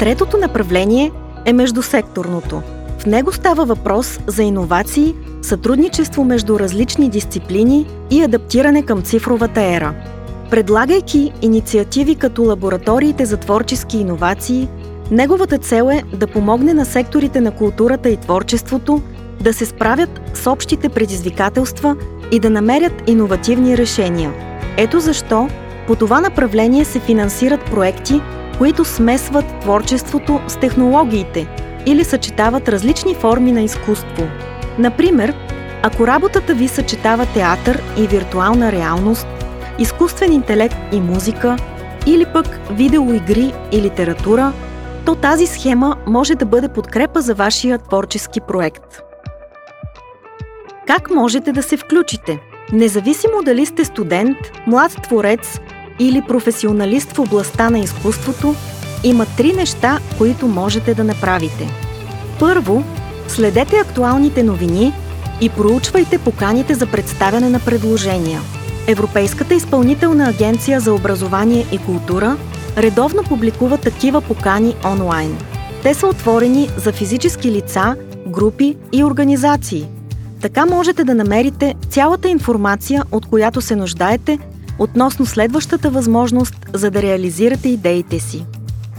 Третото направление е междусекторното. В него става въпрос за иновации, сътрудничество между различни дисциплини и адаптиране към цифровата ера. Предлагайки инициативи като лабораториите за творчески иновации, неговата цел е да помогне на секторите на културата и творчеството да се справят с общите предизвикателства и да намерят иновативни решения. Ето защо по това направление се финансират проекти, които смесват творчеството с технологиите или съчетават различни форми на изкуство. Например, ако работата ви съчетава театър и виртуална реалност, изкуствен интелект и музика, или пък видеоигри и литература, то тази схема може да бъде подкрепа за вашия творчески проект. Как можете да се включите? Независимо дали сте студент, млад творец или професионалист в областта на изкуството, има три неща, които можете да направите. Първо, следете актуалните новини и проучвайте поканите за представяне на предложения. Европейската изпълнителна агенция за образование и култура редовно публикува такива покани онлайн. Те са отворени за физически лица, групи и организации. Така можете да намерите цялата информация, от която се нуждаете, относно следващата възможност, за да реализирате идеите си.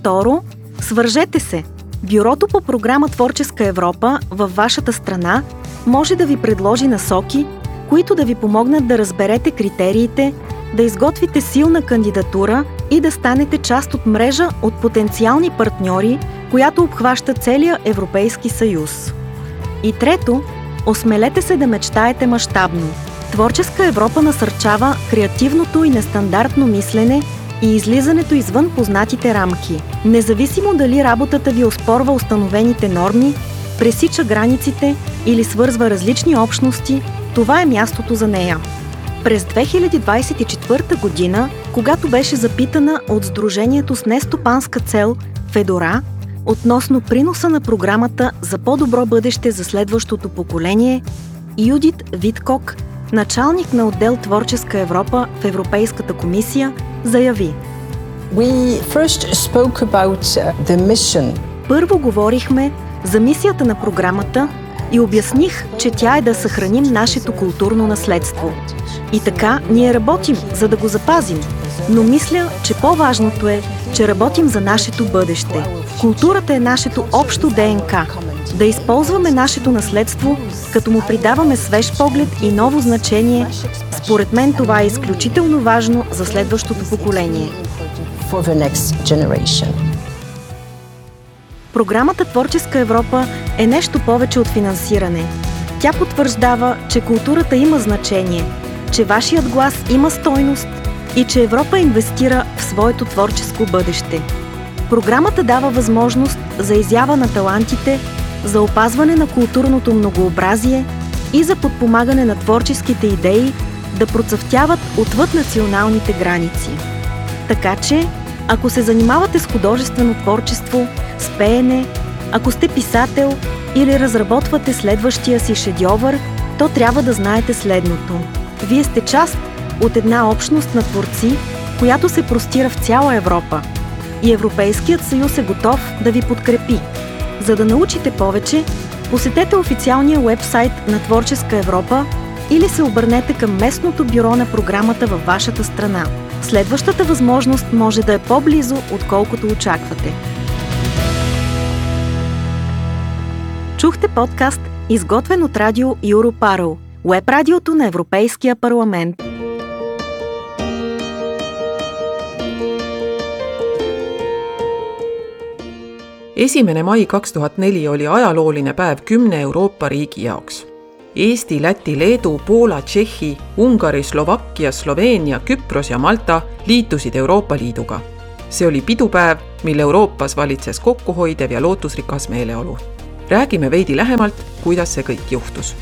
Второ, свържете се. Бюрото по програма Творческа Европа във вашата страна може да ви предложи насоки, които да ви помогнат да разберете критериите, да изготвите силна кандидатура и да станете част от мрежа от потенциални партньори, която обхваща целия Европейски съюз. И трето, осмелете се да мечтаете мащабно. Творческа Европа насърчава креативното и нестандартно мислене и излизането извън познатите рамки. Независимо дали работата ви оспорва установените норми, пресича границите или свързва различни общности, това е мястото за нея. През 2024 година, когато беше запитана от Сдружението с нестопанска цел Федора относно приноса на програмата за по-добро бъдеще за следващото поколение, Юдит Виткок, началник на отдел Творческа Европа в Европейската комисия, заяви: We first spoke about the mission. Първо говорихме за мисията на програмата и обясних, че тя е да съхраним нашето културно наследство. И така ние работим, за да го запазим. Но мисля, че по-важното е, че работим за нашето бъдеще. Културата е нашето общо ДНК. Да използваме нашето наследство, като му придаваме свеж поглед и ново значение, според мен това е изключително важно за следващото поколение. For the next generation. Програмата Творческа Европа е нещо повече от финансиране. Тя потвърждава, че културата има значение, че вашият глас има стойност и че Европа инвестира в своето творческо бъдеще. Програмата дава възможност за изява на талантите, за опазване на културното многообразие и за подпомагане на творческите идеи да процъфтяват отвъд националните граници. Така че, ако се занимавате с художествено творчество, с пеене, ако сте писател или разработвате следващия си шедьовър, то трябва да знаете следното. Вие сте част от една общност на творци, която се простира в цяла Европа. И Европейският съюз е готов да ви подкрепи. За да научите повече, посетете официалния уебсайт на Творческа Европа или се обърнете към местното бюро на програмата във вашата страна. Следващата възможност може да е по-близо, отколкото очаквате. Чухте подкаст, изготвен от радио Europarl, уеб-радиото на Европейския парламент. 1. mai 2004 oli ajalooline päev 10 Euroopa riigi jaoks. Eesti, Läti, Leedu, Poola, Tšehhi, Ungari, Slovakkia, Sloveenia, Küpros ja Malta liitusid Euroopa Liiduga. See oli pidupäev, mil Euroopas valitses kokkuhoidev ja lootusrikas meeleolu. Räägime veidi lähemalt, kuidas see kõik juhtus.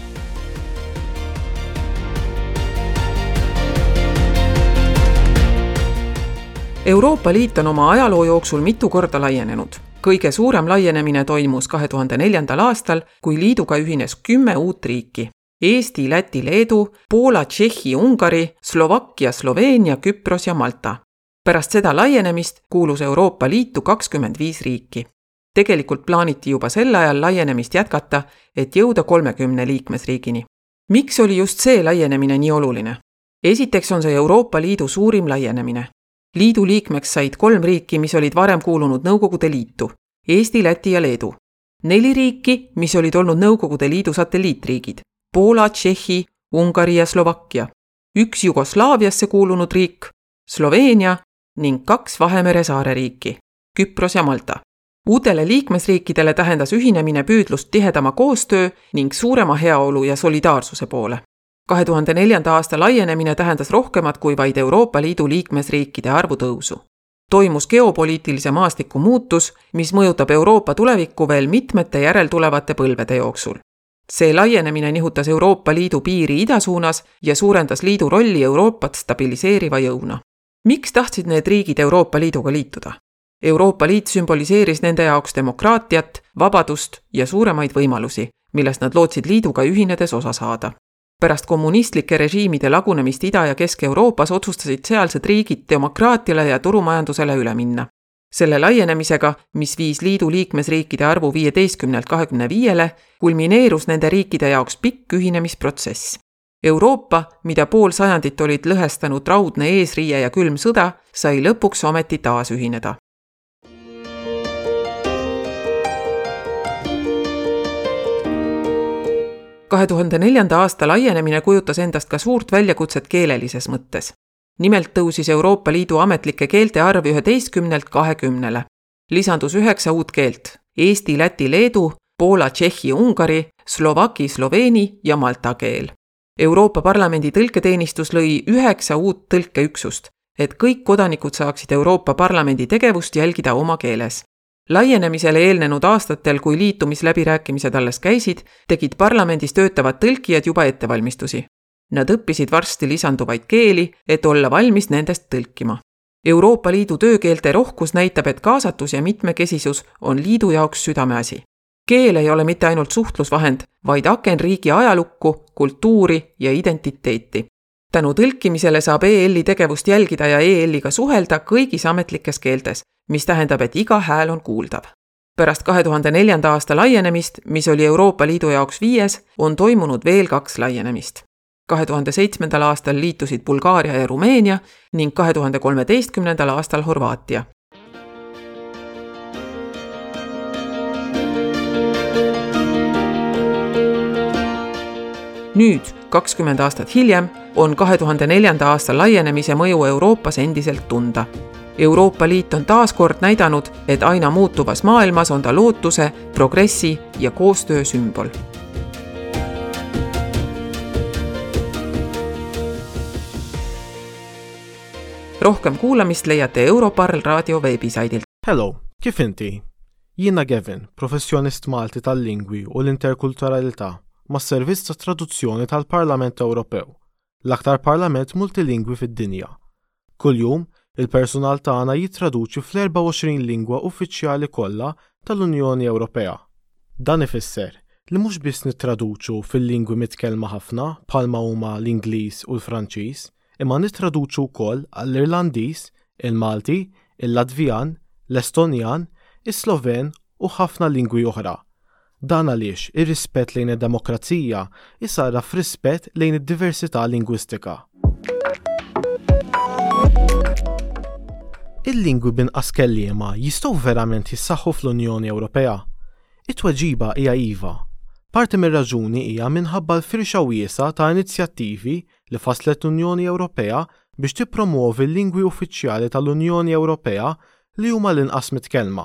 Euroopa Liit on oma ajaloo jooksul mitu korda laienenud. Kõige suurem laienemine toimus 2004. aastal, kui liiduga ühines 10 uut riiki. Eesti, Läti, Leedu, Poola, Tšehhi, Ungari, Slovakkia, Sloveenia, Küpros ja Malta. Pärast seda laienemist kuulus Euroopa Liitu 25 riiki. Tegelikult plaaniti juba sel ajal laienemist jätkata, et jõuda 30 liikmesriigini. Miks oli just see laienemine nii oluline? Esiteks on see Euroopa Liidu suurim laienemine. Liidu liikmeks said kolm riiki, mis olid varem kuulunud Nõukogude Liitu: Eesti, Läti ja Leedu. Neli riiki, mis olid olnud Nõukogude Liidu satelliitriigid: Poola, Tšehhi, Ungari ja Slovakkia. Üks Jugoslaaviasse kuulunud riik, Sloveenia, ning kaks Vahemere saareriiki, Küpros ja Malta. Uutele liikmesriikidele tähendas ühinemine püüdlust tihedama koostöö ning suurema heaolu ja solidaarsuse poole. 2004. aasta laienemine tähendas rohkemat kui vaid Euroopa Liidu liikmesriikide arvu tõusu. Toimus geopoliitilise maastiku muutus, mis mõjutab Euroopa tulevikku veel mitmete järeltulevate põlvede jooksul. See laienemine nihutas Euroopa Liidu piiri ida suunas ja suurendas liidu rolli Euroopat stabiliseeriva jõuna. Miks tahtsid need riigid Euroopa Liiduga liituda? Euroopa Liit sümboliseeris nende jaoks demokraatiat, vabadust ja suuremaid võimalusi, millest nad lootsid liiduga ühinedes osa saada. Pärast kommunistlike režiimide lagunemist Ida- ja Kesk-Euroopas otsustasid sealsed riigid demokraatiale ja turumajandusele üle minna. Selle laienemisega, mis viis liidu liikmesriikide arvu 15-lt 25-le, kulmineerus nende riikide jaoks pikk ühinemisprotsess. Euroopa, mida pool sajandit olid lõhestanud raudne eesriie ja külm sõda, sai lõpuks ometi taas ühineda. 2004. aasta laienemine kujutas endast ka suurt väljakutset keelelises mõttes. Nimelt tõusis Euroopa Liidu ametlike keelte arv 11-lt 20-le. Lisandus 9 uut keelt: eesti, läti, leedu, poola, tšehhi, ungari, slovaki, sloveeni ja malta keel. Euroopa Parlamendi tõlketeenistus lõi 9 uut tõlkeüksust, et kõik kodanikud saaksid Euroopa Parlamendi tegevust jälgida oma keeles. Laienemisele eelnenud aastatel, kui liitumisläbirääkimised alles käisid, tegid parlamendis töötavad tõlkijad juba ettevalmistusi. Nad õppisid varsti lisanduvaid keeli, et olla valmis nendest tõlkima. Euroopa Liidu töökeelte rohkus näitab, et kaasatus ja mitmekesisus on liidu jaoks südameasi. Keel ei ole mitte ainult suhtlusvahend, vaid aken riigi ajalukku, kultuuri ja identiteeti. Tänu tõlkimisele saab EL-i tegevust jälgida ja EL-iga suhelda kõigis ametlikes keeltes, mis tähendab, et iga hääl on kuuldav. Pärast 2004. aasta laienemist, mis oli Euroopa Liidu jaoks viies, on toimunud veel kaks laienemist. 2007. aastal liitusid Bulgaaria ja Rumeenia ning 2013. aastal Horvaatia. Nüüd, 20 aastat hiljem, on 2004. aasta laienemise mõju Euroopas endiselt tunda. Euroopa Liit on taas kord näidanud, et aina muutuvas maailmas on ta lootuse, progressi ja koostöö sümbol. Rohkem kuulamist leiate Europarl raadio veebisaidilt. Hello, kif inti? Jiena Gavin, professjonist Malti tal-lingwi u l-interkulturalità mas-servizz ta' traduzzjoni tal-Parlament Ewropew, l-aktar parlament multilingwi fid-dinja. Kuljum, il-personal tagħna jittraduċi fl-24 lingwa uffiċjali kollha tal-Unjoni Ewropea. Dan ifisser li mhux biss nittraduċu fil-lingwi mitkellma ħafna bħalma huma l-Ingliż u l-Franċiż, imma nittraduċu wkoll għall-Irlandiż, il-Malti, il-Latvjan, l-Estonjan, is-Sloven u ħafna lingwi oħra. Dan għaliex ir-rispett lejn id-demokrazija jsarraf f'rispett lejn id-diversità lingwistika. Il-lingwi b'inqas kelliema jistgħu verament jissaħħu fl-Unjoni Ewropea? It-tweġiba hija iva. Parti mir-raġuni hija minħabba l-firxa wiesgħa ta' inizjattivi li fasslet l-Unjoni Ewropea biex tippromwovi l-lingwi uffiċjali tal-Unjoni Ewropea li huma l-inqas mitkellma.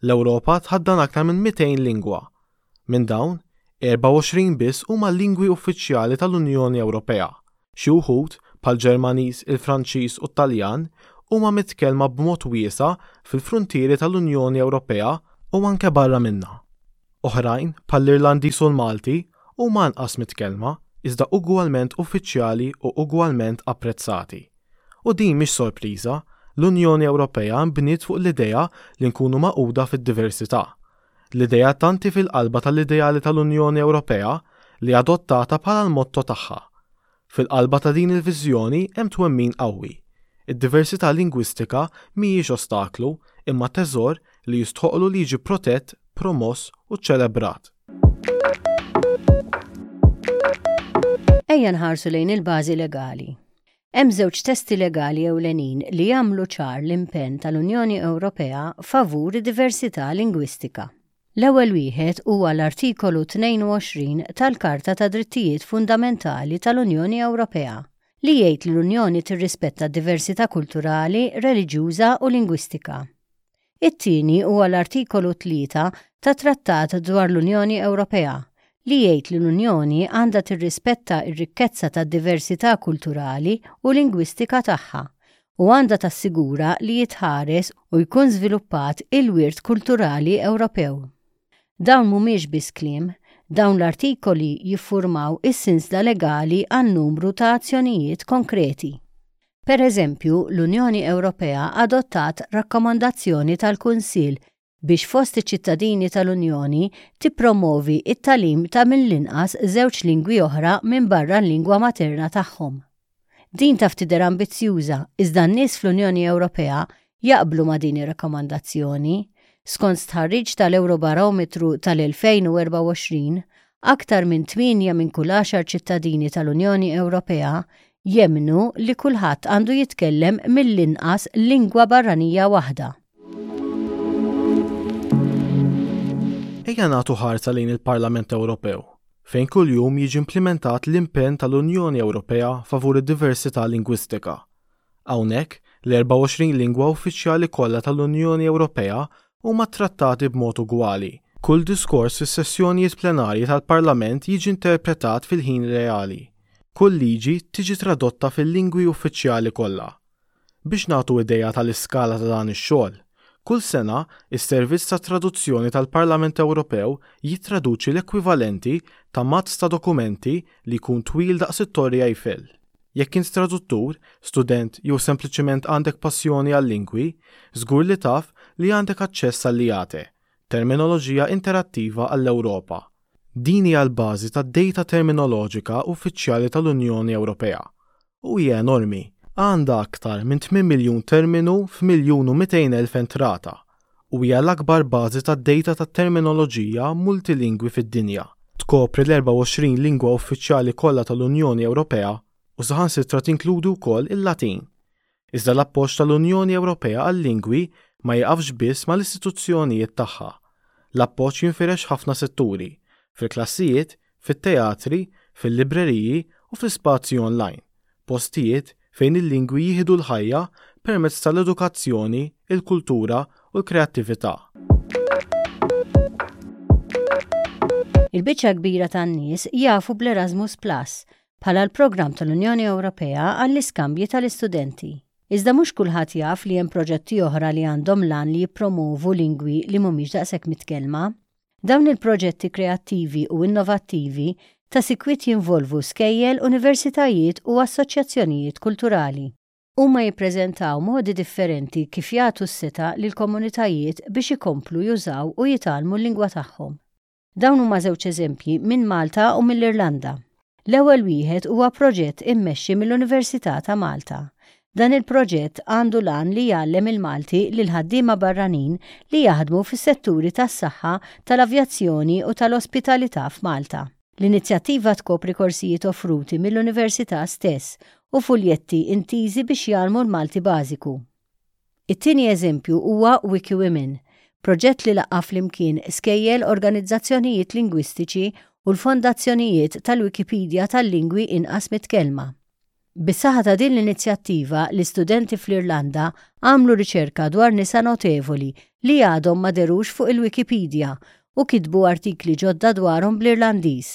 L-Ewropa tħaddan aktar minn 200 lingwa. Minn dawn, 24 biss huma lingwi uffiċjali tal-Unjoni Ewropea. Xi wħud, bħall-Ġermaniż, il-Franċiż u t-Taljan, huma mitkellma b'mod wiesa' fil-fruntieri tal-Unjoni Ewropea u anke barra minnha. Oħrajn, bħall-Irlandiż u l-Malti, huma anqas mitkellma, iżda ugwalment uffiċjali u ugwalment apprezzati. U din mhix sorpriża, l-Unjoni Ewropea nbniet fuq l-idea li nkunu magħquda fid-diversità. L-idea tant hi fil-qalba tal-ideali tal-Unjoni Ewropea li adottata bħala l-motto tagħha. Fil-qalba ta' din il-viżjoni hemm twemmin qawwi. Id-diversità lingwistika mhijiex ostaklu, imma teżor li jistħoqqlu li jiġi protett, promoss u ċċelebrat. Ejja nħarsu lejn il-bażi legali. Hemm żewġ testi legali ewlenin li jagħmlu ċar l-impenn tal-Unjoni Ewropea favur id-diversità lingwistika. L-ewwel wieħed huwa l-Artikolu 22 tal-Karta tad-Drittijiet Fundamentali tal-Unjoni Ewropea, li jgħid li l-Unjoni tirrispetta d-diversità kulturali, reliġjuża u lingwistika. It-tieni huwa l-Artikolu 3 tat-Trattat dwar l-Unjoni Ewropea, li jgħid li l-Unjoni għandha tirrispetta r-rikkezza tad-diversità kulturali u lingwistika tagħha u għandha tassigura li jitħares u jkun żviluppat il-wirt kulturali Ewropew. Dawn mhumiex biss kliem, dawn l-artikoli jiffurmaw is-sinsla legali għal numru ta' azzjonijiet konkreti. Per eżempju, l-Unjoni Ewropea adottat Rakkomandazzjoni tal-Kunsill biex fost iċ-ċittadini tal-Unjoni tippromovi t-tagħlim ta' mill-inqas żewġ lingwi oħra minbarra l-lingwa materna tagħhom. Din taf tidher ambizzjuża, iżda n-nies fl-Unjoni Ewropea jaqblu ma' din ir-rakkomandazzjoni. Skont stħarriġ tal-Ewrobarometru tal-2024, aktar minn tmienja minn kull għaxar ċittadini tal-Unjoni Ewropea jemmnu li kulħadd għandu jitkellem mill-inqas lingwa barranija waħda. Ejja nagħtu ħarsa lejn il-Parlament Ewropew, fejn kuljum jiġi implimentat l-impenn tal-Unjoni Ewropea favur id-diversità lingwistika. Hawnhekk, l-24 lingwa uffiċjali kollha tal-Unjoni Ewropea huma ttrattati b'mod ugwali. Kull diskors fis-sessjonijiet plenarji tal-Parlament jiġi interpretat fil-ħin reali. Kull liġi tiġi tradotta fil-lingwi uffiċjali kollha. Biex nagħtu idea tal-iskala ta' dan ix-xogħol, kull sena, is-Servizz tat-Traduzzjoni tal-Parlament Ewropew jittraduċi l-ekwivalenti ta' mazz ta' dokumenti li jkun twil daqs it-Torri Eiffel. Jekk int traduttur, student jew sempliċement għandek passjoni għal-lingwi, żgur li taf li għandek aċċess għall-IATE, Terminoloġija Interattiva għall-Ewropa. Din hija l-bażi tad-dejta terminoloġika uffiċjali tal-Unjoni Ewropea u hija enormi, għandha aktar minn 8 miljun terminu f'miljun u 200,000 entrata u hija l-akbar bażi tad-dejta tat-terminoloġija multilingwi fid-dinja. Tkopri l-24 lingwa uffiċjali kollha tal-Unjoni Ewropea u saħansitra tinkludi wkoll il-Latin. Iżda l-appoġġ tal-Unjoni Ewropea għal-lingwi ma jieqafx biss mal-istituzzjonijiet tagħha. L-appoġġ jinfirex f'ħafna setturi, fil-klassijiet, fit-teatri, fil-libreriji u fl-ispazji online, postijiet fejn il-lingwi jieħdu l-ħajja permezz tal-edukazzjoni, il-kultura u l-kreattività. Il-biċċa l-kbira tan-nies jafu bl-Erasmus Plus bħala l-programm tal-Unjoni Ewropea għall-iskambji tal-istudenti. Iżda mhux kulħadd jaf li hemm proġetti oħra li għandhom l-għan li jippromovu lingwi li mhumiex daqshekk mitkellma. Dawn il-proġetti kreattivi u innovattivi ta' sikwit jinvolvu skejjel, universitajiet u assoċjazzjonijiet kulturali. Huma jippreżentaw modi differenti kif jagħtu s-setgħa lill-komunitajiet biex ikomplu jużaw u jitgħallmu l-lingwa tagħhom. Dawn huma żewġ eżempji minn Malta u mill-Irlanda. L-ewwel wieħed huwa proġett immexxi mill-Università ta' Malta. Dan il-proġett għandu l-għan li jgħallem il-Malti lill-ħaddiema barranin li jaħdmu fis-setturi tas-saħħa, tal-avjazzjoni u tal-ospitalità f'Malta. L-inizjattiva tkopri korsijiet offruti mill-Università stess u fuljetti intiżi biex jgħallmu l-Malti bażiku. It-tieni eżempju huwa WikiWomen, proġett li laqqa' flimkien skejjel, organizzazzjonijiet lingwistiċi u l-fondazzjonijiet tal-Wikipedia tal-lingwi inqas mitkellma. Bis-saħħa ta' din l-inizjattiva, l-istudenti fl-Irlanda għamlu riċerka dwar nisa notevoli li għadhom ma dherux fuq il-Wikipedia u kitbu artikli ġodda dwarhom bl-Irlandiż.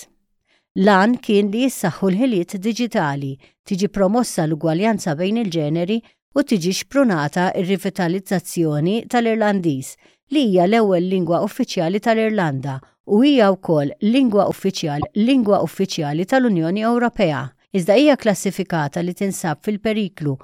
L-għan kien li jissaħħu l-ħiliet diġitali, tiġi promossa l-ugwaljanza bejn il-ġeneri u tiġi xprunata r-rivitalizzazzjoni tal-Irlandiż, li hija l-ewwel lingwa uffiċjali tal-Irlanda u hija wkoll lingwa uffiċjali lingwa uffiċjali tal-Unjoni Ewropea, iżda hija klassifikata li tinsab fil-periklu.